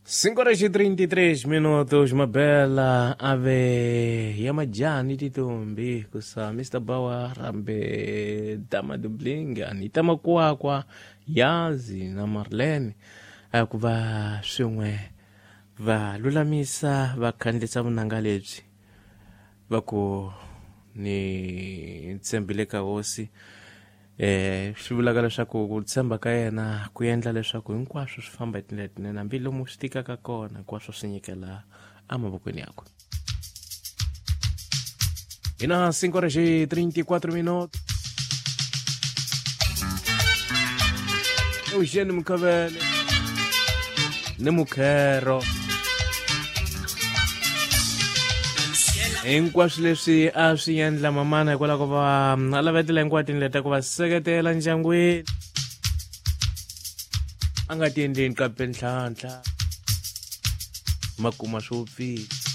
5 horas e 33 minutos, Mabela ave Yamajani Titumbi kusa Mr. Bawa Rambe Dama Dubling Anita Makwakwa Yazi na Marlene ku va swin'we va lulamisa va khandlisa vunanga lebyi va ku ni tshembile ka hosi. Swi vulaka leswaku ku tshemba ka yena ku endla leswaku hinkwaswo swi famba hi tindlela tinene, hambi lomu swi tikaka kona hinkwaswo swi nyikela emavokweni yakwe. Hi na 5 horas e 34 minutos. Eugênio Mukavele ni Mukhero, hinkwaswo leswi a swi endla mamana hikwalaho ko va a lavetela hinkwato tindlela ta ku va seketela ndyangwini, a nga ti endleni kambe ntlhantlha makuma swo pfile.